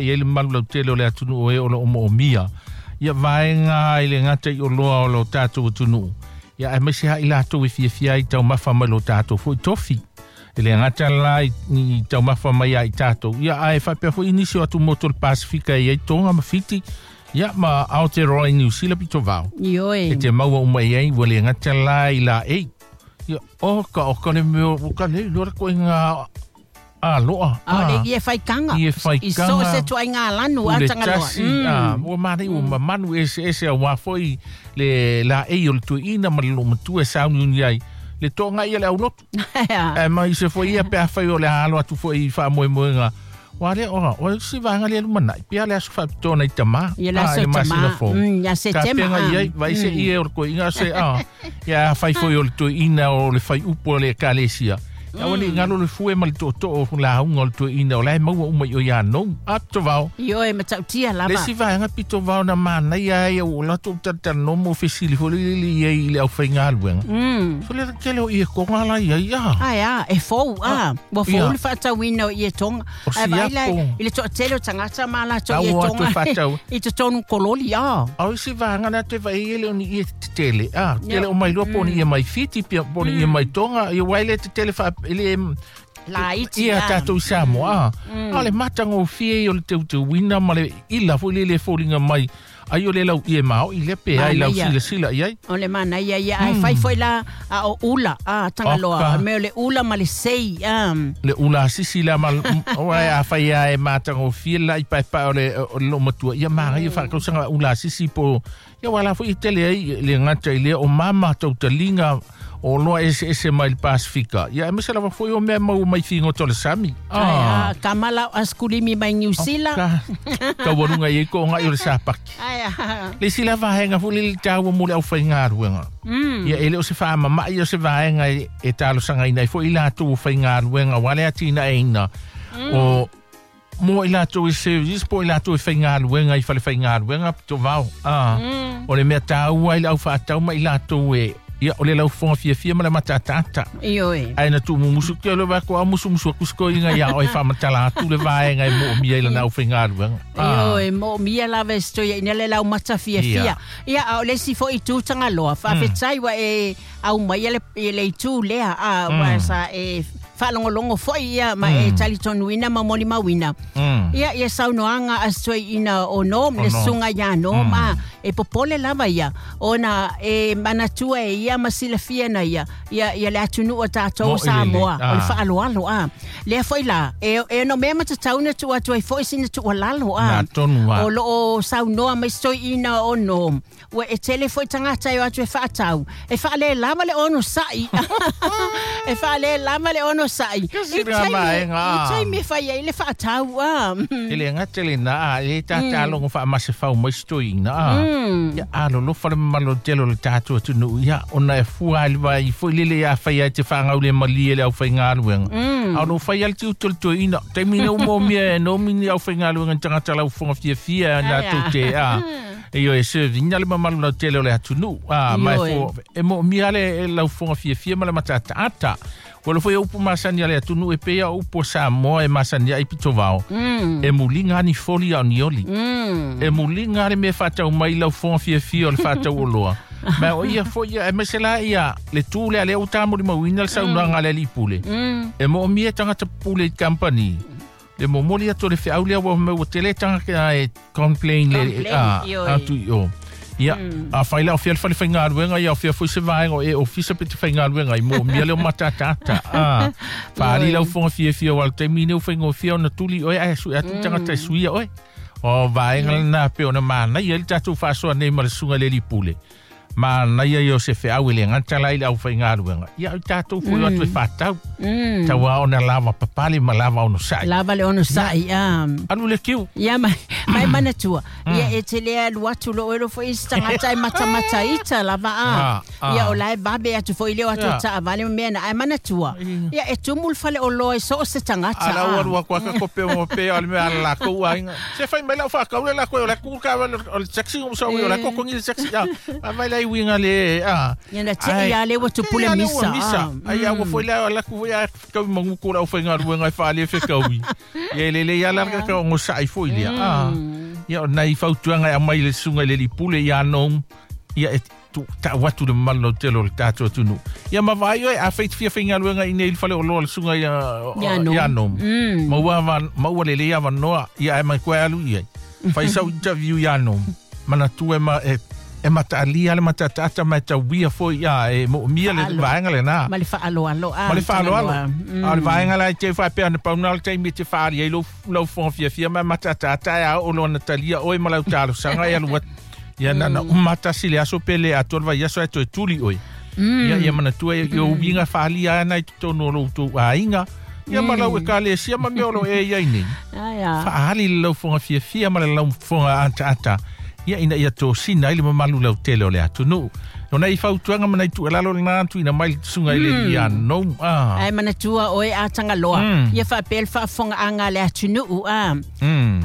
I ai le mamalu lautele o le atunuu o e o lo o moomia ia vaega i le gata i oloa o lo tatou atunuu, ia aemaise lava i latou e fiafia ai i taumafa mai lo tatou foi tofi. E le gata la i taumafa mai ia i tatou, ia ae faapea foi nisi o atumotu o le Pasefika e i ai Tonga ma Fiti, ia ma Aotearoa i Niu Sila pito vao. Ioe. E te maua uma i ai ua le gata la i laei. Ia, oka, oka le mea, o ka le iloa le koiga aloa. A o le ie faikaga. Ie faikaga. I so o se tuaiga lanu a Pule Tagaloa. tasi, ua manaia, ua mamanu eseese auā foi le laei o le toeaina ma le loomatua e sauniuni ai le toaga ia le aulotu. Ae mai se foi ia pe afai o le a alo atu foi i faamoemoega. Ua lea ora, o le isi vaega lea lumanai, pea le aso faapitoa nai tamā. Ia le aso i le masina tamā. fou. Ia Setema, Tapenga i ai, vai se ie o le toeaina se, ia afai foi o le toeaina o le faiupu o le ekalesia. Ia aua ne i galo le fue ma le tootoo o lauga o le toeaina o la e maua uma i o ia nou. A pito vao. Ioe, matautia lava. Le isi vaega pito vao na manaia ai au o latou talatalanoa mo fesili foi lele i ai i le aufaigaluega. So le tele o ie tonga la i ai, a. Ae a, e fou, a. Ua fou Ia. le faatauina o ie tonga. O Ae vaai la siapo. i le toatele o tagata ma latou Tau ie o atu tonga e faatau. i totonu kololi, a. A o isi vaega na te vaai e le o ni ie tetele, a. Ia. Tele o mai loa po o ni ie mai Fiti, pia po o ni ie mai Tonga, ia uae le tetele faa, e le, Laiti, ia a. tatou i Samoa, a. A o le matagofie ia o le teuteuina ma le ila foi lele e foliga mai ai o le lau ie maoi lea pe ai lau Manaia. silasila i ai. O le manaia ia, ae fai foi la a o ula, a, Tagaloa. Oka. O le mea o le ula ma le sei, a. Le ula sisi la ma o ai a fai a e matagofie la i paepae o le o le loomatua ia magaia faatausaga ula sisi po ia ua la foi i tele ai le gata i lea o mama tautaliga o loa eseese mai le Pasifika ia aemaise lava foi o mea maua mai figota o le sami. Ae, a, kama lau askulimi mai Niu Sila. Ka taualuga i ai ko'oga'i o le sapaki. Ae, a. Le isi la vaega foi le le taua mo le aufaigaluega. Ia e le o se faamama'i o se vaega e talosagaina ai foi i latou o faigaluega ua le atinaeina o mo i latou e service po i latou e faigaluega i fale faigaluega pito vao. O le mea taua ai le aufaatau ma i latou e ia o le laufoga fiafia ma le matataata. Ioe. Ae na tuumumusu ke o le vae ko a musumusu aku se toeaina iā oe faamatala atu le vaega e moomia i lana aufaigaluega. Ioe, moomia lava e se toeaina le laumata fiafia. Ia. Ia, a o le isi foi itu Tagaloa, faafetai ua e aumai le, i le itu lea, a, ua sa e faalogologo foi ia ma e talitonuina ma molimauina. Ia, ia saunoaga a se toeaina o Nom, le O Nom. susuga iā Nom, a, e popole lava ia, ona e manatua e ia ma silafia na ia, ia, ia le atunuu a tatou Mo'i lelei. Samoa, o le Ah. faaaloalo, a. Lea foi la, e ono mea matatau na tuu atu ai foi sina tuualalo, a. Na tonu a. O loo saunoa mai se toeaina o Nom, ua e tele foi tagata e o atu e faatau, e faalelava le onosa'i. E faalelava le onosa'i. Kasi I nga vaega, i a. taimi e fai ai le faatau, a. E le gata lenā a e tatalogo faamasefau mai se toeaina a. Ia alolofa le mamalu o le tele o le tatou atunuu ia ona e fua ai le vai foi lele ia fai ai te faagau le malie le aufaigaluega. A o loo fai ai le tiute o le toeaina taimi nei ua moomia e nomi ni aufaigaluega ni tagata laufoga fiafia Ai, latou a. te a. E io e servina le mamalu lautele o le atunuu a ma e Ioe. e moomia le laufoga fiafia ma le matataata. Ua le foi o upu masani a le atunuu e pei a o upu o Samoa e masani ai pito vao. E muliga ani foli a o ni oli. E muliga le mea faatau mai laufoga fiafia o le faatau oloa. Ma o ia foi ia, aemaise la ia le tu lea lea ua tamolimauina le saunoaga a le alii pule. E moomia e tagata pule i company. Le momoli atu o le feau lea ua mai ua tele tagata e complain le Complain, a, ioe. atu i o. Ia, a fai la o fia le fale faigaluega, ia o fia foi se vaega o e ofisa pe te faigaluega i moomia le o matataata. A, faali Ioe. laufoga fiafia o le taimi nei ua faigofie ona tuli oe ae sue atu tagata e suia oe. O vaega lenā pe ona manaia ai le tatou faasoa nei ma le susuga i le alii pule. Manaia ia o se feau e le gata la i le aufaigaluega. Ia o i tatou foi o atu e faatau. Tauā ona lava papale ma lava onosa'i. Lava le onosa'i, a. Alu le kiu. Ia mai, mai manatua. Ia e te le alu atu loo e lofo i se tagata e matamata ita lava a. Ia o la e vave atu foi le o atu taavale ma mea na ae manatua. Ia e tumu le fale oloa i so o se tagata. Ala ua lua kwa ka kope mo pe o le mea ala lākou aiga. Se fai mai lau whakau le lākou o le kū ka o le taxi o sa o le kokongi le taxi. A vai lai leai uiga le a. Ia na te ia le ua tupule misa. Misa. Ai a ua foi la la ku foi a kau mangu ko la fai galuega e faale fekaui. Ia le le ia la ka o ngosa'i foi lea. A. Ia o nai fautuaga e aumai le susuga i le lipule ia no ia e tu ta'u atu le mamalu lautele o le tatou atunuu. Ia ma vaai oe afai te fia faigaluega i nei i le fale oloa le susuga ia ia no. Maua maua lelei avanoa ia ae mai koe alu i ai. Fai sau interview ia no. Manatua e ma e e mataalia le matataata ma e tauia foi ia e moomia le vaega lena. Ma le faaaloalo a. Ma le faaaloalo. A o le vaega la e te faapea na pau na o le taimi e te faali ai lou lau fofoga fiafia ma matataata e a oo loa na talia oe ma lau talosaga e alu atu. Ia na na uma tasi le aso pe le atoa le vaiaso ae toe tuli oe. Ia ia manatua ia uiga faalia ana i totonu o lo outou aiga. Ia ma lau ekalesia ma mea o lo e iai nei. Faaali le laufoga fiafia ma le laufoga ataata. Ia ina ia tosina ai le mamalu lautele o le atunuu. O nai fautuaga ma nai tuualalo lena tuuina mai le susuga i le ia no. Ae manatua oe a Tagaloa, ia faapea le faafofogaaga a le atunuu a.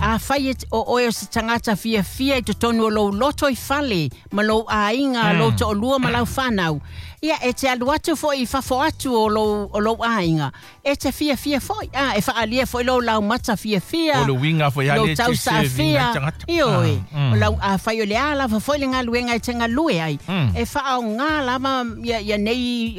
Afai o oe o se tagata fiafia i totonu o lou loto i fale ma lou aiga, lou toalua ma lau fanau, ia e te alu atu foi i fafo atu o lou, o lou aiga, e te fiafia foi, a, e faaalia foi lou laumata fiafia, O le uiga foi lou le te serving ai tagata. Ioe, o lau afai o le a lava foi le galuega e te galue ai, e faaaoga lava ia, ia nei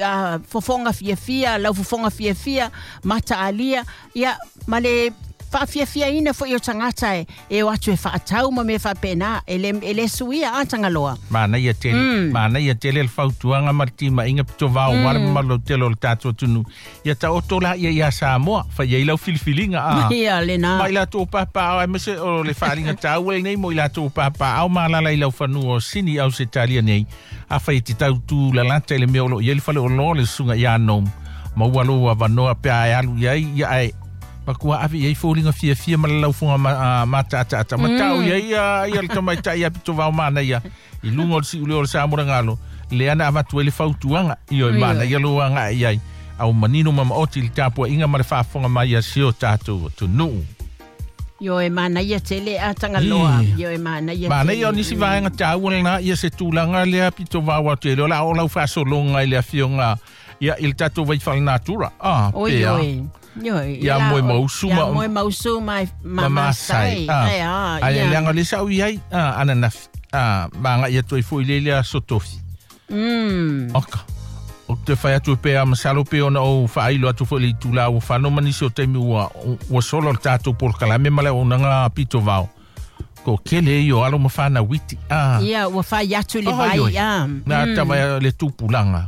fofoga fiafia, lau fofoga fiafia, mataalia, ia ma le faafiafiaina foi o tagata e, e o atu e faatau ma mea faapena, e le, e le suia a Tagaloa. Manaia tele, manaia tele le fautuaga ma le timaiga pitovao aua le mamalu lautele o le tatou atunuu. Ia taoto la ia ia Samoa, fai ai lau filifiliga a. Ia lena. Ma i latou papaao aemaise o le faaaliga taua lenei mo i latou papaao ma alaala i laufanua o Sini Ausetalia nei. Afai e te tau tū lalata i le mea o lo o i ai le faleoloa le susuga ia Nom, maua lou avanoa pe a e alu i ai, ia ae matua ave i ai foliga fiafia ma le laufoga mataataata. Ma tau i ai ia, ia le tamaitai ia pitovao manaia i luga o le siuleo o le Sa Molagalo, lea na avatu ai le fautuaga, ioe manaia lou aga'i i ai. Au manino ma maoti i le tapuaiga ma le faafofoga mai a si o tatou atunuu. Ioe manaia tele a Tagaloa. Ioe manaia Manaia o nisi vaega taua lena ia se tulaga lea pitovao atu e le o la o lau faasologa i le afioga ia i le tatou vai faalenatura. Ah, Oi, pea. oi. Ioe. Ia moe mausu ma- Ia moe mausu ma, ma, ma masai. Ai, a, Ai, ia. leaga o le sa'u i ai, ah, ananafi. Ah, ma aga'i atu ai foi i le lea aso tofi. Oka. O te fai atu pe a masalo pe ona o faailo atu foi le itula ua fano ma nisi o taimi ua, ua solo le tatou polokalame ma le auaunaga pitovao. Ko kele i o alo ma fanau iti. Ah. Ia, ua fai atu le vai, oi. a. Na tava le tupulaga.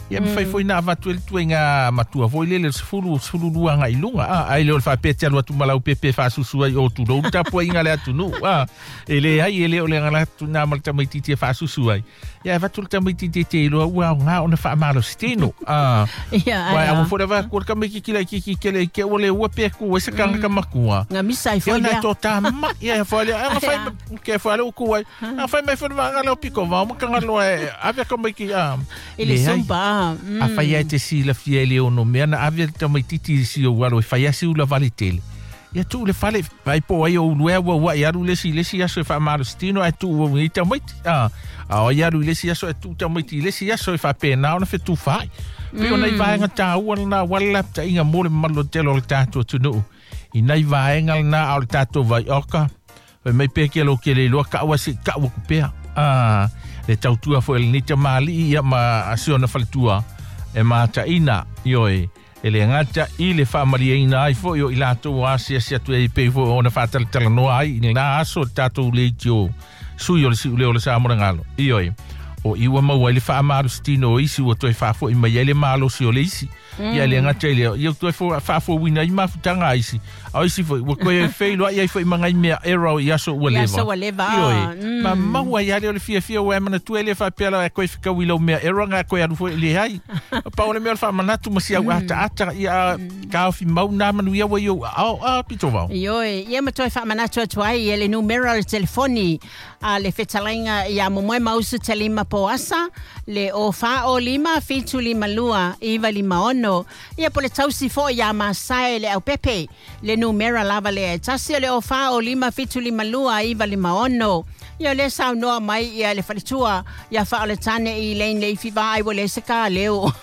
Ia mafai foi na avatu e le tuaiga matua foi lele le 10 12 agai i luga. Ah, ai le o le faapea te alu atu ma lau pepe faasusu ai o tulou le tapuaiga le atunuu. Ah, e leai e le o le agala atu na ma le tamaitiiti e faasusu ai. Ia e avatu le tamaitiiti e te iloa ua aoga ona faamalositino. Ah, Ia, Uae ai, a. ua foi lava ku le tamaititi laitiiti tele i te ua le ua pe ku ai se tagata matua. Nga misa ai foi Ia na to tama ia foi le a fai ke foi le ku ai. A fai mai foi vaega leo piko vao ma kangaloa e ave ka mai ki a. I le zumba. A fai ai te silafia i le ono mea na ave le tamaititi i si ou alo e fai asi ula vale tele. Ia tuu le fale, vai po ai o uluea ua ua i alu le isi i le isi aso e faamalositino ae tuu au nei tamaiti. A, a o i alu i le isi aso e tuu tamaiti i le isi aso e faapena ona fetufaai. Pei o nai vaega taua lena aua le lapataiga mo le mamalu tele o le tatou atunuu. I nai vaega lena a o le tatou vaioka, fai mai pe ke lo ke le iloa ka'u a se'i ka'u aku pea. A, le tautua foi a lenei tamalii ia ma si ona faletua e mataina, ioe, e le gata i le faamalieina ai foi o i latou asiasi atu ai pei foi ona faatalatalanoa ai i lena aso le tatou leitio sui o le siuleo o le Sa Molagalo. Ioe, o i ua maua ai le faamalositino o isi ua toe faafo'i mai ai le malosi o le isi. Ia le gata i lea, ia toe faafouina ai mafutaga a isi. A o isi foi, ua toe feiloai ai foi ma nai mea era o i aso ua I aso leva. ua leva. Ioe, ma maua ai lea o le fiafia ua e manatua e le faapea la e koe fekau i lau mea era nga koe alu foi le ai. Pau o le mea o le faamanatu ma si au ataata ia kaofi mau nā manuia ua i ou aao a pitovao. Ioe, ia ma toe faamanatu atu ai e le numera o le telefoni a le fetalaiga ia Momoe Mausu Telima Poasa, le o fa o lima 7 5 2 9 5 6. Ia po le tausi foi ia Masae le Aupepe, le numera lava lea e tasi o le o fa o lima 7 5 2 9 5 6. Ia le saunoa mai ia le faletua ia faaoletane i lane leifi vaai ua leai se kaleo.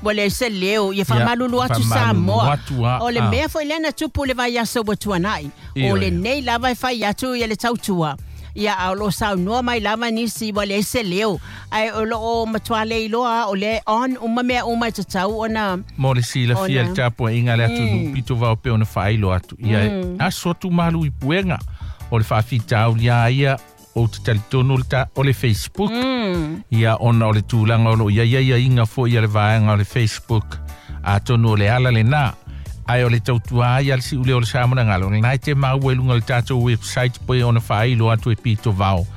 Ua leai se leo ia faamalulu atu Samoa. O le mea foi lea na tupu le vaiaso ua tuanai. O lenei lava e fai atu ia le tautua. Ia a o loo saunoa mai lava nisi ua leai se leo. Ae o loo matua leiloa o lea on uma mea uma e tatau ona mo le silafia le tapuaiga a le atunuu pito vao pei ona faailoa atu. Ia aso atu malu i puega o le faafitauli a ia ou te talitonu o le Facebook. Ia ona o le tulaga o loo i ai aiaiga foi a le vaega o le Facebook. Atonu o le ala lenā. Ae o le tautua ai a le siuleo o le Samoa lena e te maua i luga o le tatou website pei ona faailoa atu e pito vao.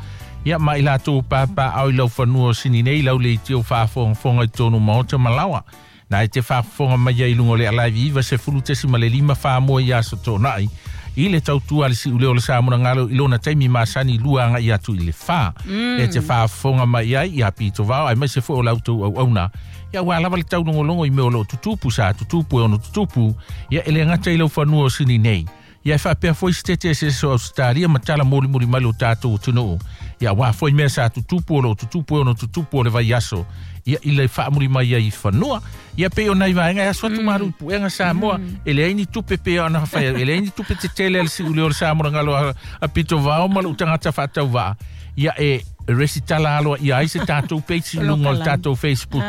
Ia ma i latou papaao i lau fanua o sini nei lau leitio faafogafoga i totonu maota ma laoa. Na e te faafofoga mai ai i luga o le Alive 90.5 Samoa i aso toonai. I le tautua le siuleo o le Samoa i lona taimi masani lua agai atu i le 4. E te faafofoga mai ai ia pito vao aemaise foi o la outou auauna. Ia ua lava le taulogologo i mea o loo tutupu sa tutupu e ono tutupu. Ia e le gata i lau fanua o sini nei. Ia e faapea foi se tete eseese o Australia ma tala molimoli mai lo tatou atunuu. Ia ua foi mea sa tutupu o loo tutupu e ono tutupu o le vaiaso. Ia i le faamuli mai ai i fanua. Ia pei o nai vaega e aso atu malu i puega Samoa. E leai ni tupe pei ona fai. E leai ni tupe tetele a le siuleo o le Samoa ngalo a pito vao ma lou tagata faatauvaa. Ia e resitala aloa ia ai se tatou page i luga o le tatou Facebook.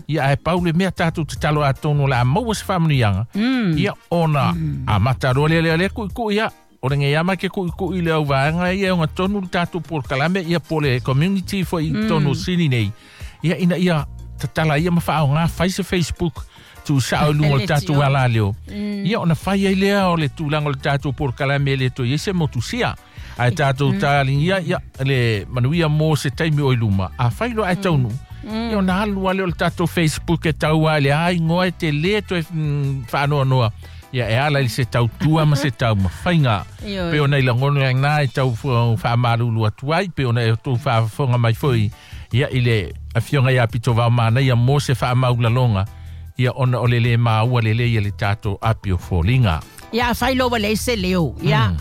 Ia ae pau le mea tatou tatalo atonu o le a maua se faamanuiaga. Ia ona amata loa lea lea lea kuʻikuʻi ia. O le geiama ke kuʻikuʻi le au vaega ia e ogatonu le tatou polokalame ia po le community foi i totonu o Sini nei. Ia ina ia tatala ia ma faaoga fai se Facebook tuusao i luga o le tatou alaleo. Ia ona fai ai lea o le tulaga o le tatou polokalame e le toe i ai se motusia. Ae tatou taligia ia le manuia mo se taimi o i luma. A fai loa ae taunuu. Ia ona alu lea o le tatou Facebook e tau ai le aigoa e te lē toe faanoanoa. Ia e ala i se tautua ma se taumafaiga. Pei ona i lagona lena e tau faamalulu atu ai pei ona e outou faafofoga mai foi. Ia i le afioga ia pito vao manaia mo se faamaulaloga. Ia ona o le lē maua lelei e le tatou api o foliga. Ia a fai loa ua leai se leo. Ia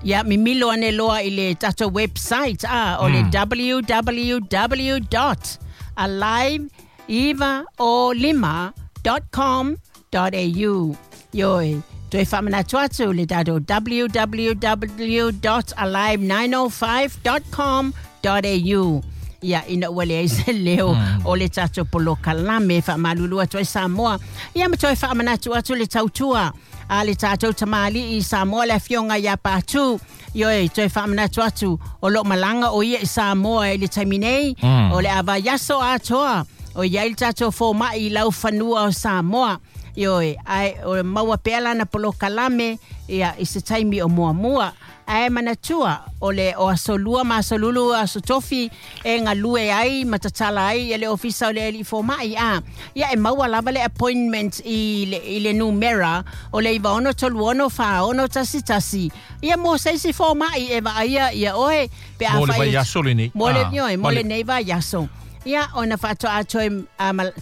ia mimilo ane loa i le tatou website a o le www.alive905.com.au. Ioe, toe faamanatu atu le tatou www.alive905.com.au. Ia ina ua leai se leo o le tatou polokalame faamalulu atu ai Samoa. Ia ma toe faamanatu atu le tautua a le tatou tamali'i Samoa le afioga ia Patu. Ioe, toe faamanatu atu o loo malaga o ia i Samoa i le taimi nei. O le a vaiaso atoa o iai le tatou foma'i i lau fanua o Samoa. Ioe, ae o maua pea lana polokalame ia i se taimi o muamua. Ae manatua o le o aso lua ma aso lulu aso tofi e galue ai ma tatala ai e le ofisa o le alii foma'i a. Ia e maua lava le appointment i le numera o le 9636 46 11. Ia mo se isi foma'i e vaaia ia oe pe a Mo le fai vaiaso lenei. Mo le ioe, mo lenei vaiaso. Ia ona faatoa toe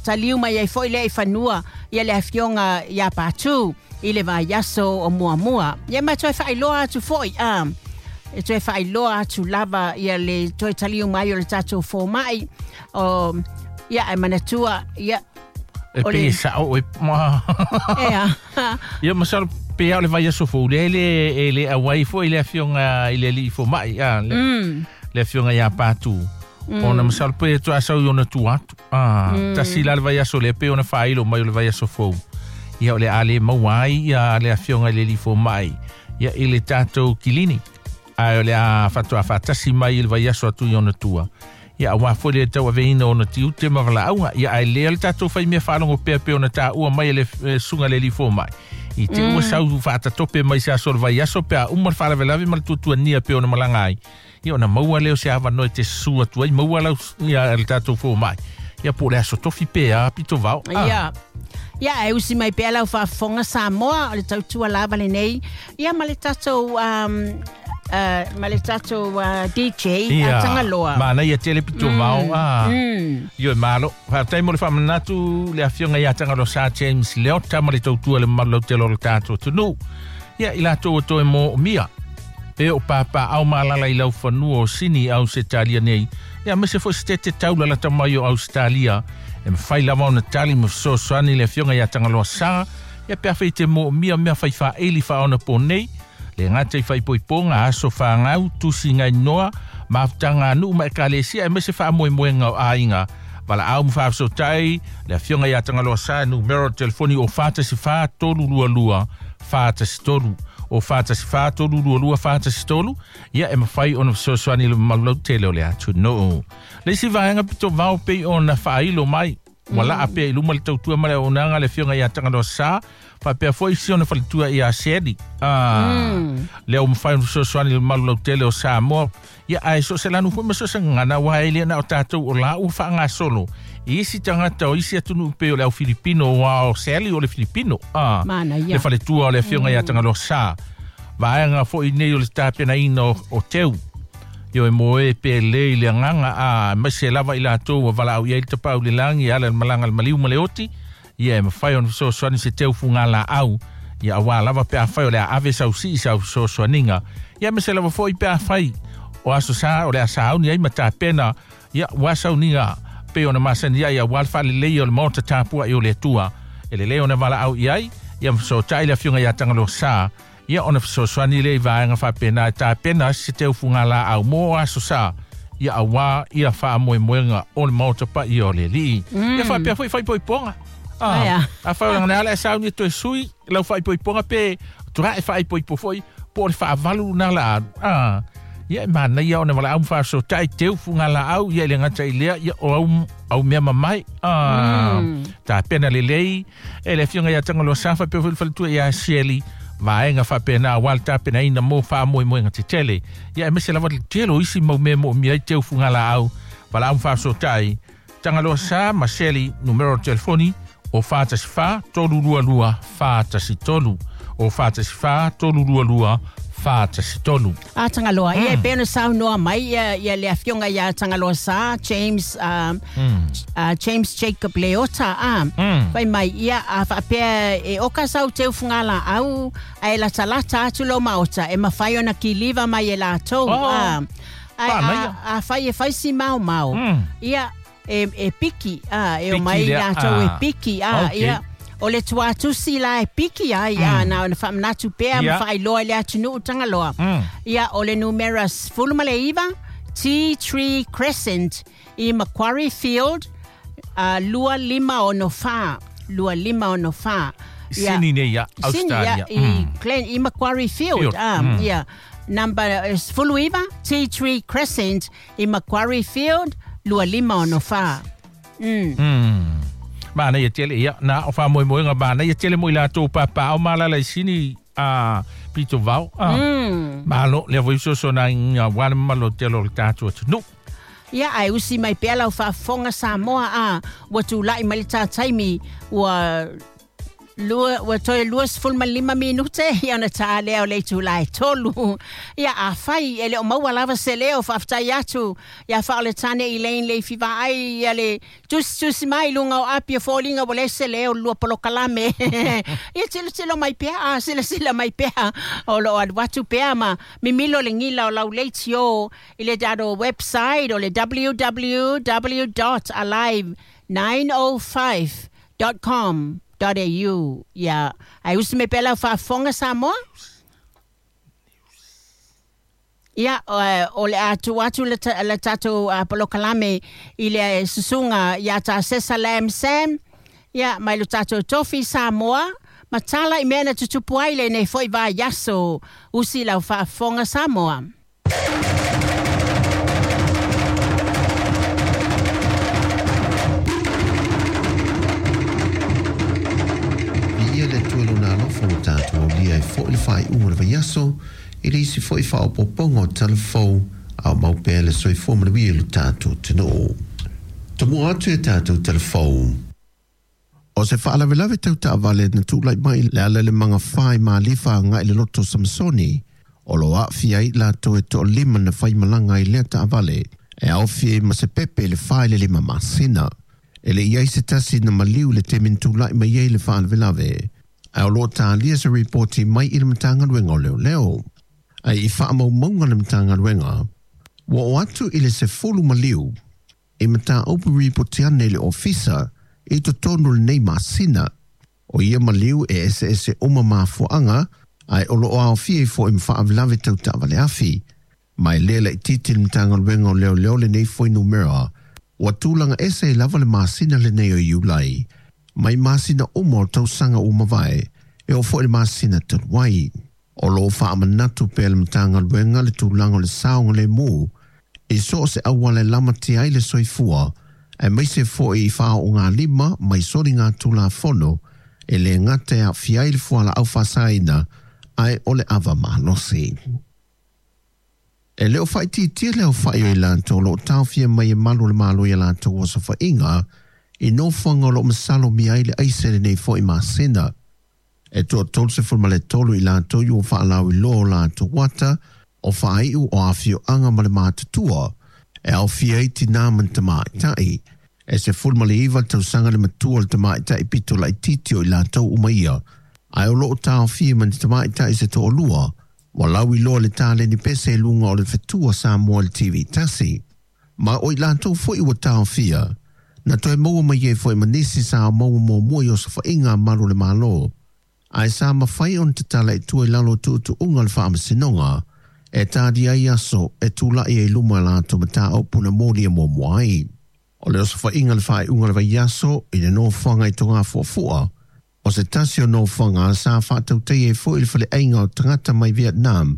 taliu mai ai foi lea i fanua ia le afioga ia Patu i le vaiaso o muamua. Ia ma toe faailoa atu foi a. E toe faailoa atu lava ia le toe taliu mai o le tatou foma'i. O ia e manatua ia E o le pei e sao e ma. Ea. Ia masalo pe o le vaiaso fou le e le auai foi le afioga i le alii foma'i a le afioga ia Patu. Ona masalo pe toe asau i ona tua atu. Tasi la le vaiaso lea pe ona faailo mai o le vaiaso fou. Ia o le a le maua ai ia le afioga i le alii foma'i. Ia i le tatou kilini. Ae o le a faatoa faatasi mai i le vaiaso atu i ona tua. Ia auā foi le tauaveina o ona tiute ma valaauga. Ia ae lea le tatou faimea faalogo pea pe ona taua mai e le susuga le alii foma'i. I te ua sau faatatope mai se aso o le vaiaso pe a uma le faalavelave ma le tuatuania pe ona malaga ai. Ia ona maua lea o se avanoa e te susu atu ai maua lau ia le tatou foma'i. Ia po o le aso tofi pe a pito vao. Ia. Ia e usi mai pea lau faafofoga Samoa o le tautua lava lenei. Ia ma le tatou ma le tatou DJ Ia, a Tagaloa. Manaia tele pito vao. Ioe malo. Faafetai mo le faamanatu le afioga ia Tagaloa Sa James Leota ma le tautua le mamalu lautele o le tatou atunuu. Ia i latou o toe moomia. E o papa au malala i lau fanua o Sini Ausetalia nei. Ia me se fo se te taula la tamai o Australia. E mawhai lava ona tali ma fesoasoani le afioga ia Tagaloa Sa. Ia pe afai te mo mia mea fai whaeli wha ona po nei. Le ngata i whaipoiponga aso whangau, tusi ngai noa, mafutanga anu ma e kalesia e mese wha moe moenga o ainga. Wala au mwhaasotai, le afioga ia Tagaloa Sa numero telefoni o 44 322 43 o 44 322 43 ia e mawhai ona fesoasoani le malulau tele o le atu noo. Le isi vaega pito vao pei ona whaailo mai. Wala apea i luma le tautua ma le auaunaga le afioga ia Tagaloa Sa faapea foi isi ona faletua ia Seli. Lea ua mafai ona fesoasoani le mamalu lautele o Samoa. Ia ae so o se lanu foi ma so o se gagana aua e le na o tatou o la ua faagasolo i isi tagata o isi atunuu pei o le au Filipino aua o Seli o le Filipino. Manaia. Le faletua o le afioga ia Tagaloa Sa. Vaega foi nei o le tapenaina o teu. Io e moe pe le i le agaga a aemaise lava i latou ua valaau i ai le tapaau i le lagi e ala i le malaga a le maliu ma le oti. Ia e mafai ona fesoasoani se teu fugalaau. Ia auā lava pe afai o le a ave sau sii sau fesoasoaniga. Ia aemaise lava foi pe afai o aso sa o le a sauni ai ma tapena. Ia ua sauniga pei ona masani ai auā le faaleleia o le maota tapuai o le Atua. E lelei ona valaau i ai, ia ma fesootai le afioga ia Tagaloa Sa. Ia ona fesoasoani lea i vaega faapena e tapena se teu fugalaau mo aso sa. Ia auā ia faamoemoega o le maota paia o le Alii. Ia faapea foi faaipoipoga. Afai o lagona ala e sauni e toe sui lau faaipoipoga pe tulae faaipoipo foi po o le faavalu lena la alu. Ia e manaia ona valaau ma faasotai teu fugalaau ia i le gata i lea ia o au mea mamae. Tapena lelei e le afioga ia Tagaloa Sa faapea foi le faletua ia Sieli. Vaega faapena aua le tapenaina mo faamoemoega tetele. Ia aemaise lava le tele o isi mau mea e moomia ai teu fugalaau. Valaau ma faasotai Tagaloa Sa ma Sieli numero o telefoni o 44 322 43 o 44 322 43. A Tagaloa, ia e pei ona saunoa mai ia, ia le afioga ia Tagaloa Sa, James, James Jacob Leota, a, fai mai, ia, a faapea e oka sau teu fugalaau, ae latalata atu lou maota, e mafai ona kiliva mai e latou, a, ae a, afai e fai si maomao, ia, e, e piki, a, e omai latou e piki, a, ia, o le tuatusi la e piki ai, a, na ona faamanatu pea ma faailoa i le atunuu Tagaloa. Ia, o le numera 19, Tea Tree Crescent i Macquarie Field, 2564, 2564. Ia, Sini nei ia, Australia. Sini, ia, i, Glen, i Macquarie Field, Field. Ia, number 19, Tea Tree Crescent i Macquarie Field, 2564. Manaia tele, ia, na o faamoemoega manaia tele mo i latou papaao ma alaala i Sini a pito vao. Malo, lea foi fesoasoaniga aua le mamalu o tele o le tatou atunuu. Ia, ae usi mai pea lau faafofoga Samoa, a, ua tulai mai le ta taimi, ua lua, ua toe 25 minute, ia ona ta lea o le itula e 3. Ia, afai e le o maua lava se leo, faafetai atu ia Faaoletane Elaine Leifi Vaai, ia le tusitusi mai i luga o api o foliga ua leai se leo lua polokalame. Ia tilotilo mai pea, a silasila mai pea, o loo alu atu pea ma mimilo le gila o lau leitio i le tatou website o le www.alive905.com.au. Ia, ae usi mai pea lau faafofoga Samoa. Ia, o le a tuu atu le tatou polokalame i le susuga ia Tasesa Lam Sam, ia, mai lo tatou tofi Samoa, ma tala i mea na tutupu ai lenei foi vaiaso. Usi lau faafofoga Samoa. Viia le Atua i Lona alofa ua tatou aulia ai foi le faaiuga o le vaiaso i le isi foi faaopoopoga o tala fou a o mau pea le soifua manuia i lo tatou atunuu. Tomua atu i a tatou tala fou. O se faalavelave tau taavale na tulai mai i le ala i le magafa i Malifa agai i le loto o Samasoni, o lo o aafia ai i latou e toalima na faimalaga ai lea taavale, e aofia ai ma se pepe i le 4 i le 5 masina. E le i ai se tasi na maliu i le taimi na tulai mai ai le faalavelave, ae o lo o talia se ripoti mai i le Matagaluega o Leoleo. Ae i faamaumauga a le Matagaluega, ua oo atu i le 10 maliu i mataupu ripoti ane i le Ofisa i totonu o lenei masina. O ia maliu e eseese uma mafuaaga ae o loo aofia ai foi ma faalavelave tau taavale afi. Ma e le laitiiti le Matagaluega o Leoleo lenei fuainumera ua tulaga ese ai lava le masina lenei o Iulai mai masina uma o tausaga ua mavae e oo foi i le masina talu ai. O lo o faamanatu pea le Matagaluega le tulaga o le saogalemu i so o se auala e lamatia ai le soifua aemaise foi i faaoogalima mai soligatulafono e le gata e aafia ai le fualaau faasaina ae o le ava malosi. E le o faaitiitia le aofai o i latou o lo o taofia mai e malu o le Malo i a latou osofaiga i nofoaga o lo o masalomia ai le aisa i lenei foi masina. E toa 33 i latou ua faalauiloa o latou ata o faaiu o afioaga ma le matutua e aofia ai tinā ma ni tamaitai. E 19 tausaga le matua o le tamaitai pito laitiiti o i latou uma ia, ae o lo o taofia ma ni tamaitai se toalua ua lauiloa le taleni pese i luga o le fetua Samoa i le TV tasi. Ma o i latou foi ua taofia, na toe maua mai ai foi ma nisi sa maua muamua i osofaiga a malu o le Malo, ae sa mafai ona tatala i tua i lalo o tuutuuga o le Faamasinoga e talia ai aso e tulai ai i luma i latou mataupu na molia muamua ai. O le osofaiga i le faaiuga o le vaiaso i le nofoaga i Togafuafua, o se tasi o nofoaga sa faatautaia ai foi le faleaiga o tagata mai Vietnam,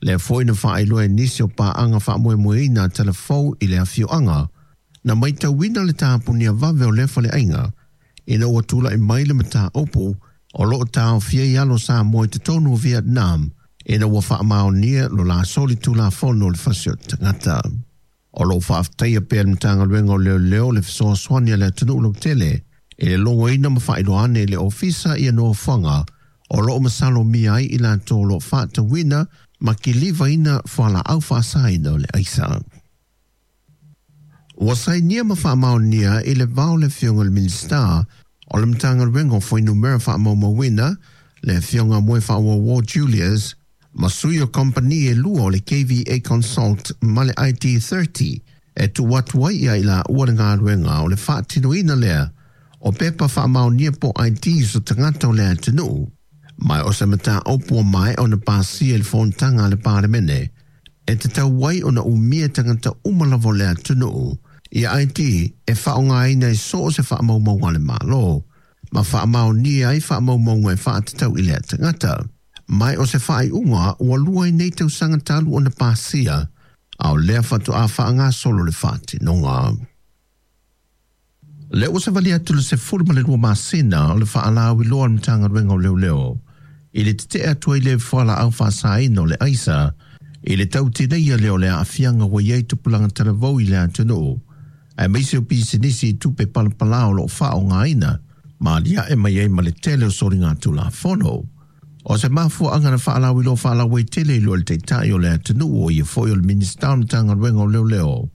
lea foi na faailoa e nisi o paaga faamoemoeina a Talafou i le afioaga, na matauina le tapunia vave o lea faleaiga ina ua tulai mai le mataupu o lo o taofia ai alo Samoa i totonu o Vietnam ina ua faamaonia lo la solitulafono o le fasi o tagata. O lo o faafetaia pea le Matagaluega o Leoleo le fesoasoani a le atunuu lautele i le logoina ma faailoa ane i le Ofisa ia nofoaga o lo o masalomia ai i latou o lo o faatauina ma kilivaina fualaau faasaina o le aisa. Ua sainia ma faamaonia i le vao le Afioga i le Minisita o le Matagaluega o Fuainumera Faamaumauina, le Afioga Moefaauouo Julius, ma sui o kamupani e lua o le KVA Consult ma le ID30 e tuu atu ai ia i laua le galuega o le faatinoina lea o pepa faamaonia po o IDs o tagata o le atunuu. Ma o se mataupu ua maea ona pasia i le fonotaga a le Palemene e tatau ai ona umia tagata uma lava o le atunuu ia ID e faaaogaina i so o se faamaumauga a le Malo ma faamaonia ai faamaumauga e faatatau i lea tagata. Mai o se faaiuga ua lua ai nei tausaga talu ona pasia, a o lea faatoa faagasolo le faatinoga. Lea ua savali atu le 12 masina o le faalauiloa a le Matagaluega o Leoleo i le tetee atu ai le fualaau faasaina o le aisa i le tautineia lea o le aafiaga ua i ai tupulaga talavou i le atunuu, aemaise o pisinisi i tupe palapala o lo o faaaogaina ma aliae mai ai ma le tele o soligatulafono. O se mafuaaga na faalauiloa faalauaitele i lua le Taitai o le atunuu o ia foi o le Minisita o le Matagaluega o Leoleo,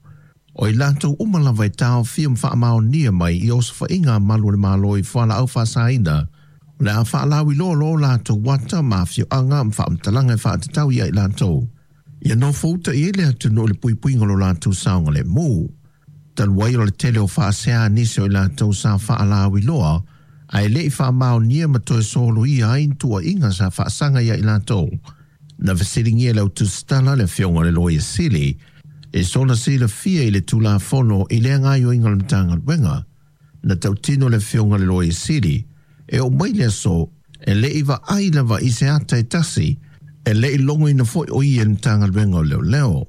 o i latou uma lava e taofia ma faamaonia mai i osofaiga a malu o le Malo i fualaau faasaina, o le a faalauiloa loa o latou ata ma afioaga ma faamatalaga e faatatau ia i latou, ia nofouta i ai le atunuu i le puipuiga o lo latou saogalemu. Talu ai o le tele o faasea a nisi o i latou sa faalauiloa ae le i faamaonia ma toe soloia ai ni tuuaiga sa faasaga ia i latou, na fesiligia e le autusitala le Afioga i le Loia Sili e sona silafia i le Tulafono i lea gaoioiga o le Matagaluega. Na tautino le Afioga i le Loia Sili e oo mai le aso e le i vaai lava i se ata e tasi, e le i logoina foi o ia i le Matagaluega o Leoleo.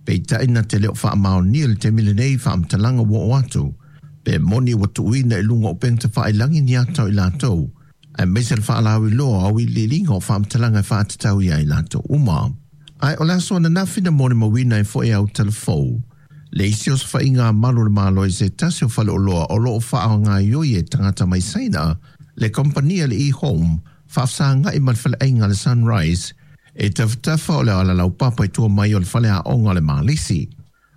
Peitai na te le o faamaonia i le taimi lenei faamatalaga ua oo atu, pe moni ua tuuina i luga o upega tafailagi ni ata o i latou, aemaise le faalauiloa o auiliiliga o faamatalaga e faatatau ia i latou uma. Ae o le aso ananafi na molimauina ai foi e au talafou le isi osofaiga a malu o le Malo i se tasi o faleoloa o lo o faagaoioi e tagata mai Saina le kamupani a le E-Home faafesagai ma le faleaiga a le Sunrise e tafatafa o le ala laupapa i tua mai o le faleaoga o le Malisi.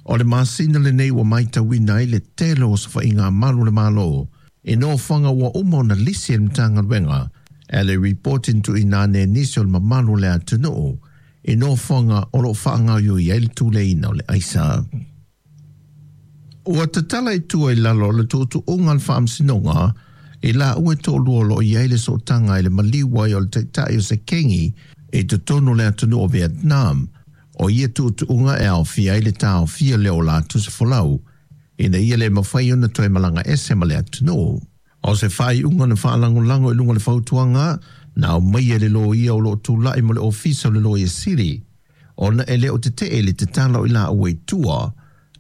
O le masina lenei ua matauina ai le tele o osofaiga a malu o le Malo i nofoaga ua uma ona lisi e le Matagaluega e le ripoti na tuuina ane e nisi o le mamalu o le atunuu. i nofoaga o loo faagaoioi ai le tuleina o le aisa. Ua tatala i tua i lalo o le tuutuuga o le faamasinoga i laua e toalua o loo i ai le sootaga i le maliu ai o le taitai o se kegi i totonu o le atunuu o Vietnam. O ia tuutuuga e aofia ai le taofia lea o latou se folau ina ia le mafai ona toe malaga ese ma le atunuu. O se faaiuga na faalagolago i luga o le fautuaga na aumaia e le loia o loo tulai mo le ofisa o le Loia Sili, ona e le o tetee le tatala o i laua i tua,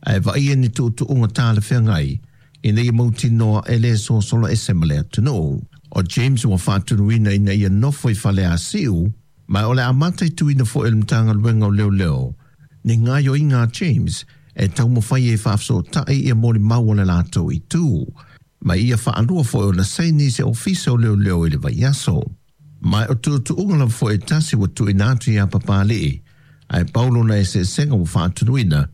ae vaaia ni tuutuuga talafeagai ina ia mautinoa e lē sosola ese ma le atunuu. O James ua faatunuina ina ia nofo i Faleasiu, ma o le amata i tuina foʻi e le Matagaluega o Leoleo ni gaoioiga a James e taumafai ai e faafesootai ia molimau o le latou itu, ma ia faalua foʻi ona saini i se ofisa o leoleo i le vaiaso. Ma o tuutuuga lava foʻi e tasi ua tuuina atu iā Papali'i, ae pau lona eseesega ua faatunuina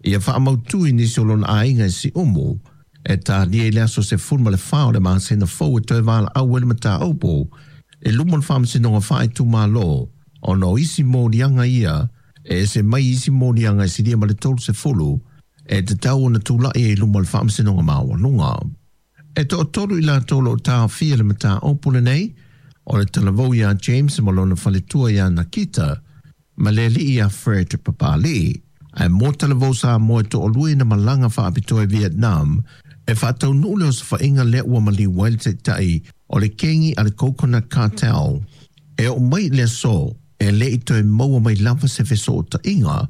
ia faamautu i nisi o lona aiga i Siumu e talia i le aso 14 o le masina fou e toe valaau ai le mataupu i luma o le faamasinoga faaitumālō, ona o isi moliaga ia e ese mai isi moliaga e silia ma le 30 e tatau ona tulaʻi ai i luma o le faamasinoga maualuga. E toatolu i latou o loo taofia i le mataupu lenei, o le talavou iā James ma lona faletua iā Nakita ma le alii iā Fred Papali'i. Ae mo talavou Samoa e toalua ina malaga faapitoa i Vietnam e faataunuu le osofaiga lea ua maliu ai le taitai o le kegi a le Coconut Cartel. E oo mai i le aso e lē i toe maua mai lava se fesootaiga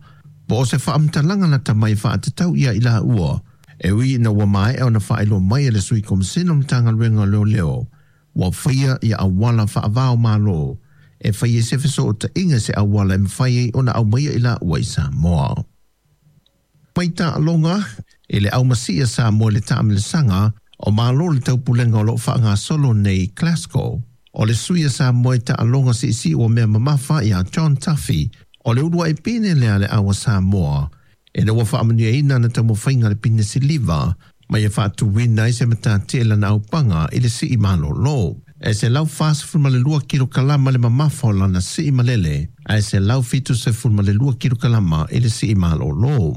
po o se faamatalaga lata mai e faatatau ia i laua, e ui ina ua maea ona faailoa mai e le Sui Komasino o le Matagaluega o Leoleo ua faia ia auala faavao malo e fai ai se fesootaiga i se auala e mafai ai ona aumaia i laua i Samoa. Mai taaloga i le aumasii a Samoa i le taamilosaga o Malo o le Taupulega o loo faagasolo nei i Glasgow. O le sui a Samoa i taaloga siisii ua mea mamafa iā John Duffy, o le uluai pine lea a le au a Samoa ina ua faamanuiaina ana taumafaiga i le pine siliva ma ia faatuina ai se matatia i lana aupaga i le sii malōlō. E 142 kilokalama le mamafa o lana sii malele, ae 172 kilokalama i le sii malōlō.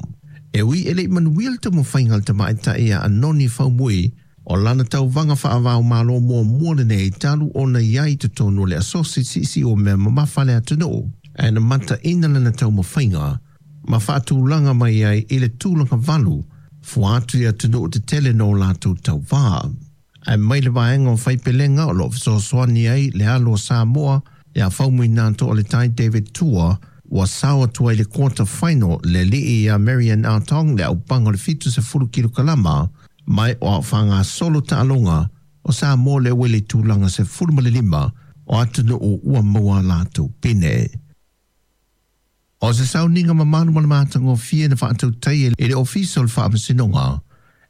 E ui e leʻi manuia le taumafaiga a le tamaitai ia Anoni Faumui, o lana tauvaga faavao malo muamua lenei talu ona i ai i totonu o le asosi siisii o mea mamafa a le atunuu, ae na mataina lana taumafaiga ma faatulaga mai ai i le tulaga valu fua atu i atunuu tetele no latou tauvā. Ae mai le vaega o faipelega o loo fesoasoani ai le alo o Samoa iā Faumuina Toaletai David Tua, ua sao atu ai i le quarter final le alii iā Marian Atong le aupaga o le 70 kilokalama, mai o ao faagasolo taaloga o Samoa lea ua i le tulaga 15 o atunuu ua maua a latou pine. O se sauniga mamalu ma le matagofie na faatautaia e le Ofisa o le Faamasinoga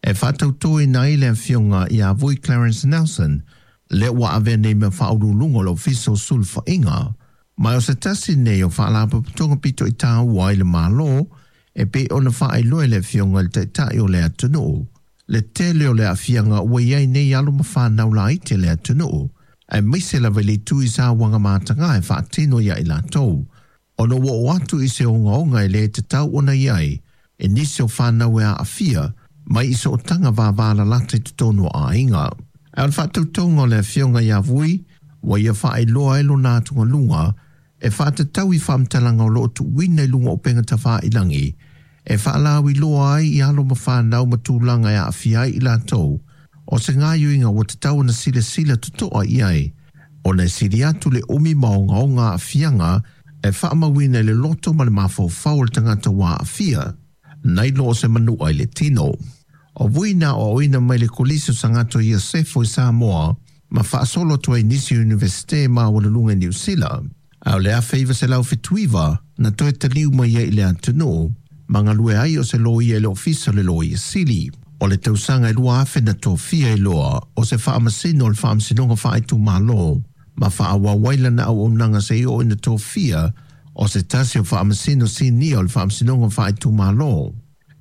e faatautoina ai le afioga iā Vui Clarence Nelson lea ua avea nei ma faauluuluga o le Ofisa o Sulufaiga. Ma o se tasi nei o faalapotopotoga pito i tāua ai le Malo e pei ona faailoa e le afioga i le Taitai o le atunuu le tele o le aafiaga ua i ai nei alo ma fanau laiti a le atunuu, aemaise lava i le itu i sauaga mataga e faatino iā i latou, ona ua oo atu i se ogaoga e lē tatau ona i ai e nisi o fanau e aafia mai i sootaga vavalalata i totonu o aiga. Ae o le faatautauga o le afioga iā Vui ua ia faailoa ai lona atugaluga e faatatau i faamatalaga o loo tuuina i luga o upega tafāilagi e faalauiloa ai i alo ma fanau ma tulaga e aafia ai i latou, o se gaoioiga ua tatau ona silasila totoa i ai, ona e sili atu le umi ma ogaoga aafiaga e faamauina i le loto ma le mafaufau o le tagata ua aafia, nai lo o se manu'a i le tino. O Vui na aoaoina mai le Kolisi o Sagato Iosefo i Samoa ma faasolo atu ai i nisi o Iunivesite maualuluga i Niu Sila. Ae o le 1979 na toe taliu mai ai i le atunuu ma galue ai o se loia i le Ofisa o le Loia Sili. O le tausaga e 2000 na tofia ai loa o se faamasino o le Faamasinoga Faaitumālō ma faaauau ai lana auaunaga seia oo ina tofia o se tasi o faamasino sinia o le Faamasinoga Faaitumālō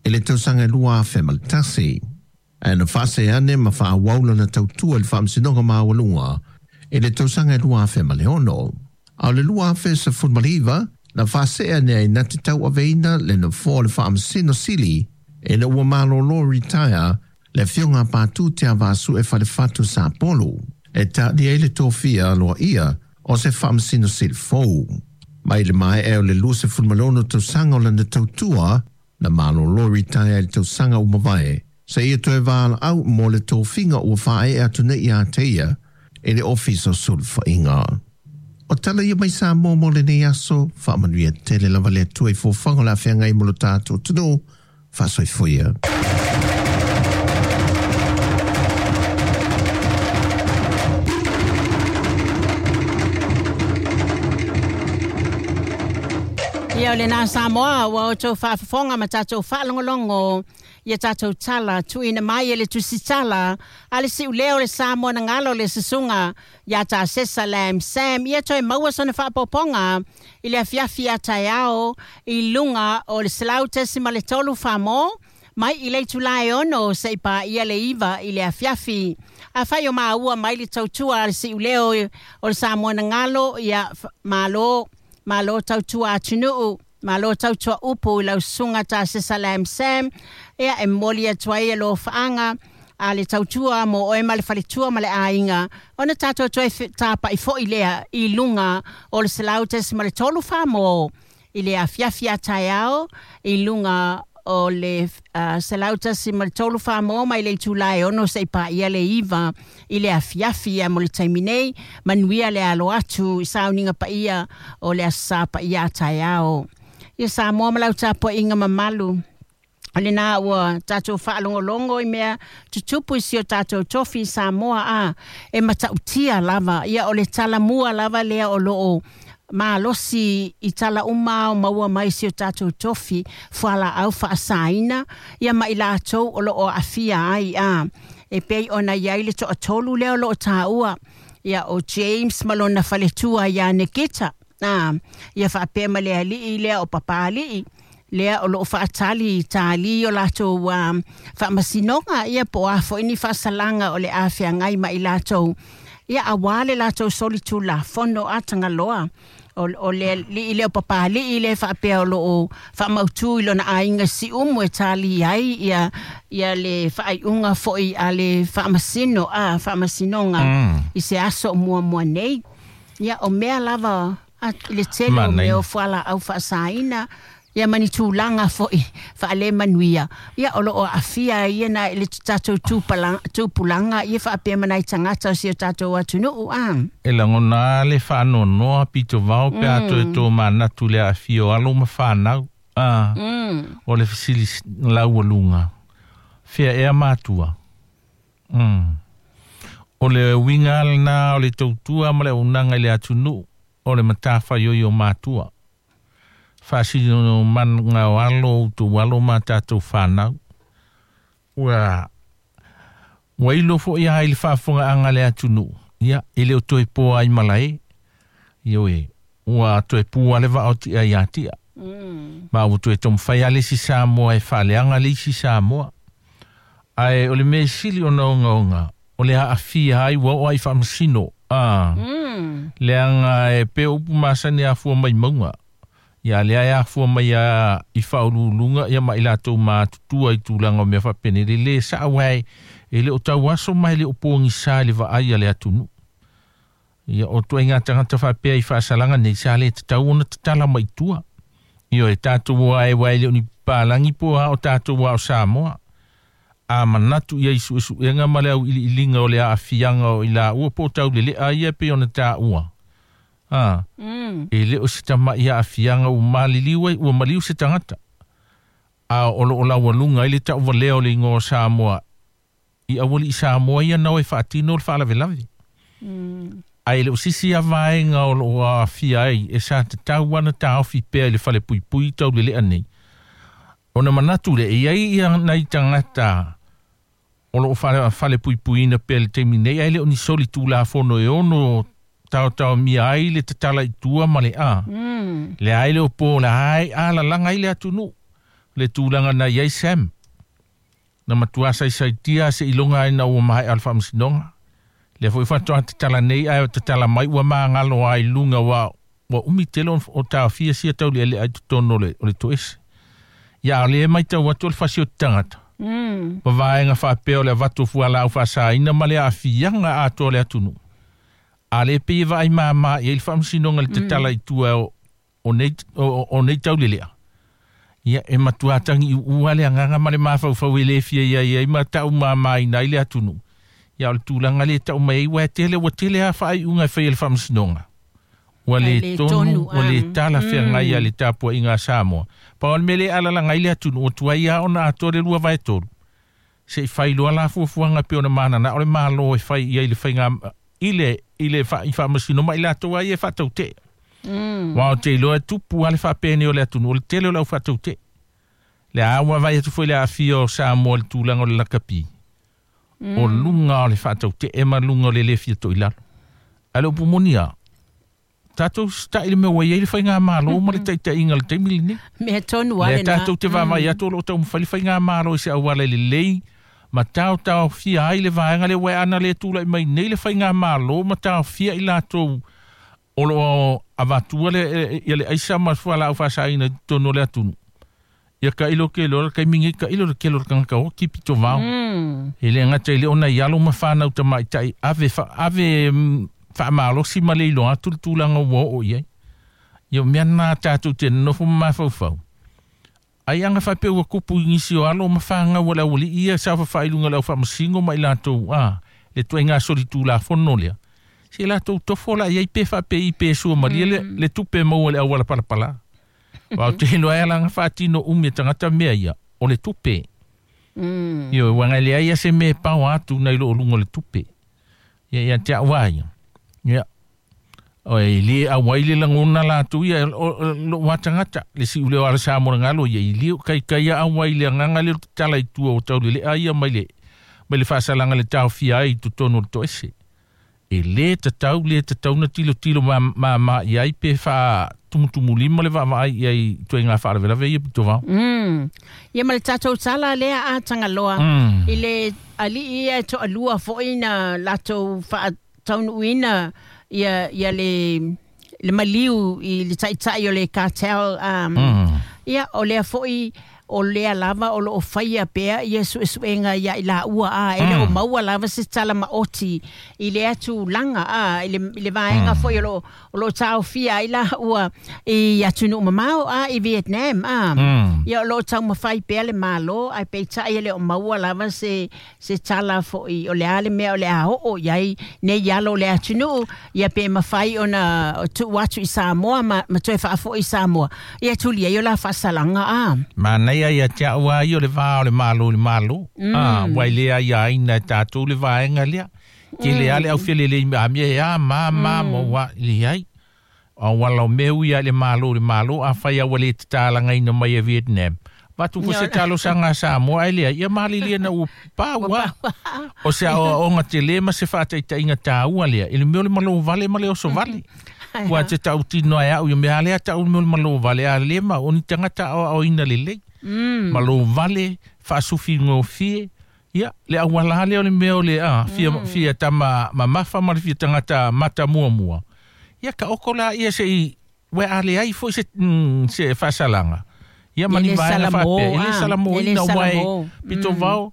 i le tausaga e 2001. Ae na faaseane ma faaauau lana tautua i le Faamasinoga Maualuga i le tausaga e 2006. A o le 2019 Na whaasea nei na te tau aveina le na fō le whaamasino sili e na ua malolo retire le fionga pātū te avasu e whalewhatu sa polu. E tā ni e le tōfia loa ia o se whaamasino sili fōu. Mai le mai e o le luse fulmalono tau sanga o lana tautua na malolo retire le tau sanga umavae. Se ia toe wāla au mō le tōfinga ua whae atu nei ia te ia e le ofisa sulfainga. O tala ia mai sa mō mō le nei aso, whaamanuia tele lava le atua i fōwhanga la whianga i molo tātou tunu, whaasoifuia. Ia o le nā Samoa, ua o tau whaafafonga ma tātou whaalongolongo, ia tātou tala, tuina mai e le tusitala, a le siu leo le Samoa na ngalo le susunga, ia tā sesa lam Sam, ia toe maua sona whaapoponga, i le afiafi a taiao, i lunga o le 103 whamō, mai i le tulae ono se i pā ia le iwa i le afiafi. A whai o maua mai le tautua a le siu leo o le Samoa na ngalo, ia malo, malo tautua atunuu, malo tautua upu i lau sunga tā sesa lam Sam, ia e moli atua ia lo whaanga, a le tautua mo oe ma le faletua ma le āinga, ona tātou toe tāpa i fo i lea i lunga o le 103 whamō, i le afiafi a taiao, i lunga o le 103 whamō mai le tulae ono se i pā ia le iwa i le afiafi a mo le taimi nei, manuia le alo atu i sauninga pa ia o le asa pa ia taiao. Ia Samoa ma lau tāpua inga mamalu. O le nā ua tātou whaalongolongo i mea tutupu i si o tātou tofi Samoa a e matautia lava. Ia o le talamua lava lea o loo malosi i tala uma o maua mai si o tātou tofi whala au whaasaina ia mai lātou o loo afia ai a. E pei ona iai le toa tolu lea o loo tāua. Ia o James malona faletua ia Nikita. Ia whaapea ma le alii lea o papalii. Lea o loo whaatali tāli o lātou whaamasinoga ia po a fo ini whaasalanga o le awhea ngai mai lātou. Ia a wale lātou soli tū la fono a tangaloa. O le li i leo papali i le whaapea o loo whaamautu i lona ainga si umu e tāli ai ia, ia le whaaiunga foi a le whaamasino a whaamasinoga i se aso mua mua nei. Ia o mea lava a le tele o mea o whala au whaasaina. Ia mani tūlanga foi whaale manuia. Ia o loo afia ia na le tātou tūpulanga ia whaapea manai tangata o si o tātou atunuu a. E langona le whaanonoa pito vao pe ato e tō manatu le afia o alo ma whanau. O le fisili lau lunga. Fea ea mātua. O le winga na o le tautua ma le unanga i le atunuu o le matawha ioi o mātua. Whaasiri no manu o alo, tu alo mā tātou whanau. Ua ilo fo ia hai le whaafonga anga le atunuu. Ia, ele o toe pō ai malae. Ia oe, ua toe pū ale vao tia ia tia. Ma ua toe tomwhai ale si Samoa e whaaleanga le isi Samoa. Ai, o le mea sili o na onga, o le haafia ai ua o ai whaamasino. Leanga e pe upu masani afua mai maunga. Ia lea e afua mai a i whaululunga ia mai lātou mātutua i tūlanga o mea whapene. Le le sa awai e le o tau aso mai le o pōngi sa le vaai a le atunu. Ia o tua i ngā tangata whapea i whaasalanga nei sa le te tau ona te tala mai tua. Ia e tātou wā e wai le o ni pālangi po ha o tātou wā o Samoa. A manatu ia isu isu enga ma le au ili ilinga o le aafianga o i la ua po tau le le a ia pe ona tā ua. E le o se tama ia afianga u maliliu ua maliu se tangata. A o lo o laua lunga i le tau valea o le ingoa Samoa. I awali i Samoa ia nau e whaatino o le whaalavelave. A e le o sisi a vaenga o lo o afia ai e sa te tau ana tāofi pea i le whale pui pui tau le lea nei. O na manatu le e ai ia nei tangata o lo o whale pui pui ina pea le teimi nei ai le o ni soli tū la fono e ono tau tau mia ai le tatala i tua ma le a. Le ai le o pō le ai a la langa i le atunu. Le tūlanga na iai Sam. Na matua sai sai tia se ilonga ai na ua mahai alfa msinonga. Le fo i whatoa tatala nei ai tatala mai ua maa ngalo ai lunga wa Ua umi tele o taofia sia taulealea i totonu o le toese. Ia o lea e matau atu o le fasi o te tagata. Ma vaega faapea o le avatu o fualaau faasaina ma le aafiaga atoa o le atunuu. A le pei e vaai māmā i ai le faamasinoga i le tatala i tua o nei taulelea. Ia e matua tagiuua le agaga ma le mafaufau e le fia i ai ma taumāmāina ai le atunuu. Ia o le tulaga le tau mai ai, ua tele ua tele a faaiuga e faia e le faamasinoga. Ua le tonu, ua le talafeagai a le tapuaiga a Samoa. Pau o le mea le alalaga ai le atunuu, ua tuai lava ona atoa le 2/3. Se i failoa la fuafuaga pe ona manana o le malo e fai i ai le faiga i le faamasino ma i latou ai e faatautee. Ua o te iloa e tupu lava le faapene o le atunuu, o le tele o le au faatautee. Le a ua vaai atu foi le aafia o Samoa i le tulaga o le lakapi. O luga o le faatautee ma luga o le le fia toilalo. Ae le upu moni lava, tatou sita'i le mea ua i ai le faigamalo ma le taitaiga o le taimi lenei. Mea tonu lava Lea lena. tatou te vaavaai atu o lo o taumafai le faigamalo i se auala lelei ma taotaofia ai le vaega lea ua e ana le tulai mai nei le faigamalo ma taofia i latou o lo o avatua le ia le aisa ma fualaau faasaina i totonu o le atunuu. Ia kailo ke lo kaimi ngi kailo le kelo kanga o ki pito vao. E le ngata ile ona ialo ma whanau tamaitai ave ave whaamalosi ma le iloa atu le tulaga ua oo i ai. Ia mea nā tātou te nofo mafaufau. Ai anga whape ua kupu i ngisi o alo ma whangau o le awali ia sa whawhai lunga le au whaamasingo ma i latou a le tuai ngā soli tūla fono lea. Se latou tofo la iai pe whape i pe sua maria le tupe maua le awala palapala. Wau te hino ai alanga whaatino umi e tangata mea ia o le tupe. Io wanga le ai se me pau atu nei lo lunga le tupe. Ia ia te awa ia. Ia o e le awai le langona la tu ia lo watangata le si ule o sa mo ngalo ia i le kai kai awai le nganga le tala i tua o tau le ai mai le fasalanga le taofia ai totonu o le toese. E le tatau na tilo tilo ma ia i pe fa tumutumulima le vaavaai i ai tuaiga faalavelave ia pitovao. Ia ma le tatou tala lea a Tagaloa i le alii ia e toalua foi na latou faataunuuina ia le maliu i le taitai o le cartel. Ia o lea foi o lea lava o loo faia pea ia suesuega ia i laua a e le o maua lava se tala maoti i le atulaga a i le vaega foi o loo taofia ai laua i atunuu mamao a i Vietnam a. Ia o loo taumafai pea le malo ae peitai e le o maua lava se tala foi o le a le mea o le a oo i ai nei alo o le atunuu ia pe mafai ona tuu atu i Samoa ma toe faafoi i Samoa ia tuli ai o la faasalaga a. Mana ia ia te aua ai o le vā o le malo le malo. Wai lea ia aina e tātou le vaenga lea. Ke le ale au fele le a mea e a ma ma wa le ai. A wala o meu ia le malo a whai awa le te tālanga ina mai e Vietnam. Watu fo se talo sanga Samoa ai lea. Ia mali lia na ua pāua. O se o nga te le ma se whātaitainga tāua lea. I le meo le malo vale ma le oso vale. Ua te tau tino ai au. Ia mea lea tau meo le malo vale a le ma o ni tangata o ina le lei. Malo vale, whaasufi ngōfie, ia, le awala le o le mea o le a, fia tama mamafa ma le fia tangata mata mua mua. Ia ka oko la ia se i, we a le ai fo se whasalanga. Ia mani vaenga whapea, ele salamo ina wai, pito vao,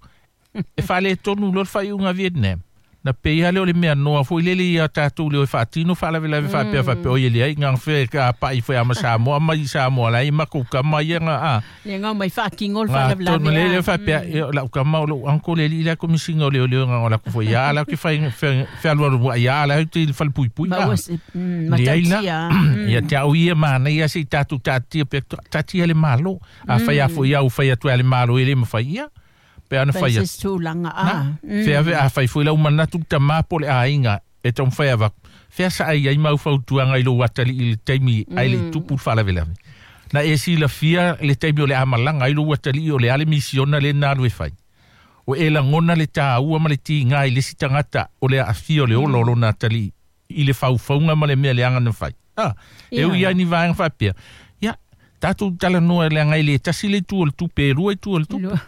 e whale tonu lo whai unga Vietnam. Na pe ia le o le mea noa fo i lele ia tātou le o e whaatino whaalawelawe whaapea whaapea o ia le ai ngā whea ka pai whea ama Samoa ma i Samoa lai ma kouka mai ia ngā a. Le ngā mai whaakingo le whaalawelawe. Ngā tonu le le whaapea lau ka mau lau anko le li la komisinga o le o le ngā o la kufo ia ala ke whai whalua ia ala au te whalpui pui a. Le ai la ia te au ia mana ia se i tātou tātia pe tātia le malo. A whai afo ia au whai atu a le malo e le mawhai ia. Pe ana whai atu. Tūlanga a. Whea a whai fui lau manatu ta māpo le āinga e tau whai avaku. Whea sa ai ai mau whautuanga i lo watali i le taimi ai le tupu whalavelave. Na e si la fia le taimi o le amalanga i lo watali o le ale misiona le nālu e whai. O e langona le tāua ma le tīnga i le si tangata o le afia o le olo o nā tali i le whaufaunga ma le mea le anga na whai. E ui ai ni vaenga whapea. Ia, tātou tala noa le anga i le tasi le tu o le tupe, e rua i tu o le tupe.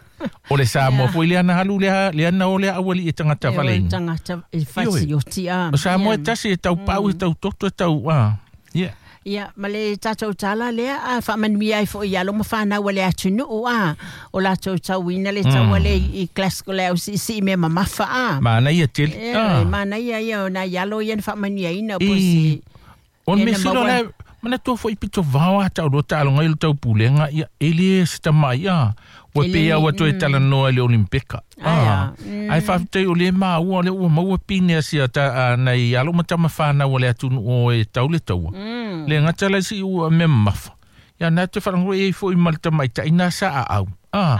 O le Samoa foi le ana halu le ana o le awali e tangata vale. E tangata e fasi o tia. O Samoa e tasi e tau pau e tau toto e tau. Yeah. Ia, ma le tatou tala lea a faamanuia ai foi i alo ma fanau a le atunuu a o latou tauina le taua lea i Glasgow le ausiisii mea mamafa a. Manaia tele. E, manaia ia o nai alo ia na faamanuiaina po se O le mea sili o la manatua foi pito vao a tau loa taaloga i le taupulega ia e le se tamai a ua pei lava ua toe talanoa i le Olimpeka. A, ae faafetai o lea e maua o lea ua maua pine a sia ta, nai alo ma tama fanau a le atunuu o e tau le taua. Le gata la i si ua mea mamafa. Ia na te faalogo e i ai foi ma le tamaitai na sa aau. A,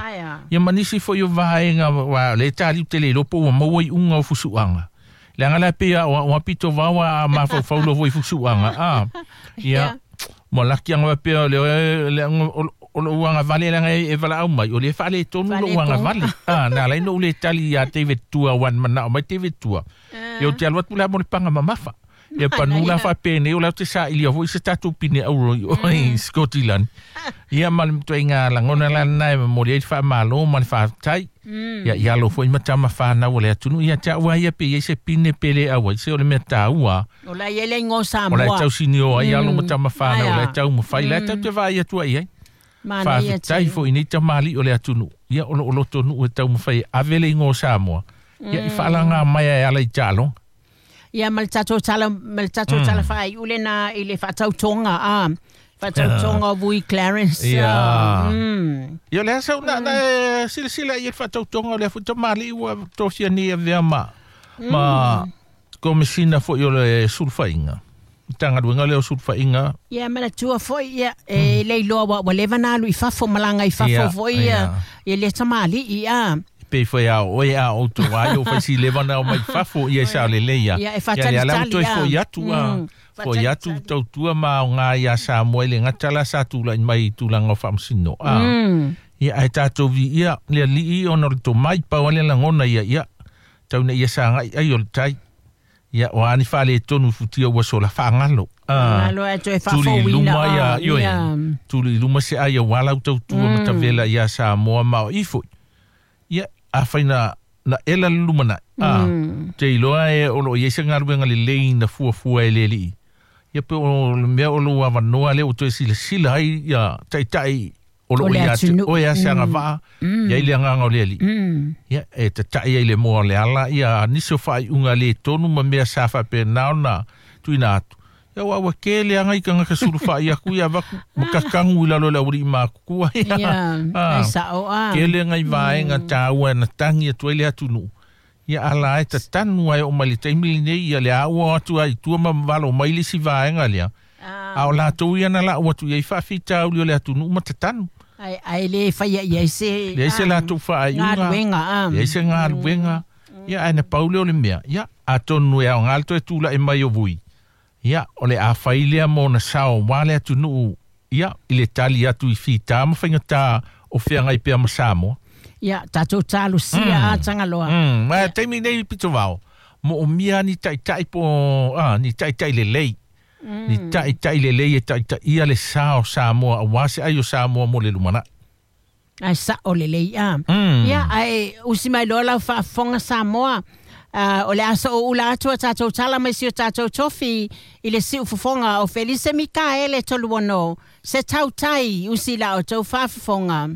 ia ma nisi foi o vaega wa le taliu te le iloa po ua maua iuga o fusuaga. Leaga la e pei a o a pito vao a mafaufau loa foi i fusuaga. A, ia, ua laki anga faapea o le le o lou agavale leaga e valaau mai, o lea e faaletonu lou agavale. A, na ala ai ona ou le tali ia David Tua aua na manao mai David Tua, ia ou te alu atu la mo le paga mamafa. Ia panu la faapenei o la ou te sailia foi se tatou pine auro i o i Scotland. Ia ma le ituaiga lagona la lena e momoli ai le faamalo ma le faafetai. Ia i alo foi ma tama fanau o le atunuu ia te au lava ia pe i ai se pine pe le auai se o le mea taua. O la e i ai le igoa o Samoa. O la e tausinio ai alo ma tama fanau o la e taumafai la e tatou te vaai atu ai i ai. Faafetai foi i nei tamalii o le atunuu ia o lo o lotonuu e taumafai e ave le igoa o Samoa ia i faalaga mai e ala i taaloga. Ia ma le tatou tala ma le tatou tala faaiu lena i le faatautoga a faatautoga o Vui Clarence. Ia. Ia o le a sau na na e silasila i ai le faatautoga o lea foi tamalii ua tofia nei e avea ma ma Komesina foi o le Sulufaiga. Matagaluega lea o Sulufaiga. Ia manatua foi ia e le iloa ua ua leva ona alu i fafo malaga i fafo foi ia ia lea tamalii a. Pei foi a o oe a outou a i o fai si leva na omai fafo ia e sao lelei ia. Ia e faatalitali a. Ia lea toe foi atu a. Foi atu tautua ma aoga ia Samoa i le gata la sa tulai mai i tulaga o faamasino a. Ia ae tatou viia le Alii ona o le tomai pau a le lagona ia ia tau ina ia sagai ai o le tai. Ia, o a ni faaletonu i futia ua sola faagalo. Faagalo ae toe Tuli i faafouina. luma ia, ioe, tuli i luma se ai aua lau tautua matavela ia Samoa ma o i foi. Ia, afai na, na ela le lumanai, a, te iloa e o lo o i ai se galuega lelei na fuafua e le Alii. Ia pe o le mea o lou avanoa lea ua toe silasila ai ia taitai o lo o ia te oe a se agavaa, i ai le agaga o le Alii. Ia, e tatai ai le moa o le ala, ia nisi o faaiuga le tonu ma mea sa faapena ona tuuina atu. Ia aua ua tele lava nai tagata sulufai atu ia avatu ma kakagu i lalo o le aualii matutua. Ia, ai sao a. Tele nai vaega taua na tagi atu ai le atunuu. Ia ala e tatanu ai oo mai le taimi lenei ia le a ua o atu ai i tua ma valo mai le isi vaega lea. A o latou ia na lau atu i ai faafitauli o le atunuu ma tatanu. Ae, ae le faia i ai se Leai se latou faaiuga. Galuega, a. Leai se galuega. Ia ae na pau lea o le mea. Ia, atonu e aoga le toe tulai mai o Vui. Ia, o le a fai lea mo ona sao aua le atunuu, ia, i le tali atu i fita ma faigata o feagai pea ma Samoa. Ia, tatou talosia a Tagaloa. Ma taimi nei pito vao, moomia ni taitai po, a, ni taitai lelei. Ni taitai lelei e taitaia le sa o Samoa aua se ai o Samoa mo le lumanai. Ae sao lelei a. Ia, ae usi mai loa lau faafofoga Samoa, o le a sooula atu a tatou tala mai si o tatou tofi i le siufofoga o Felise Mikaele Toluono, se tautai usi la outou faafofoga.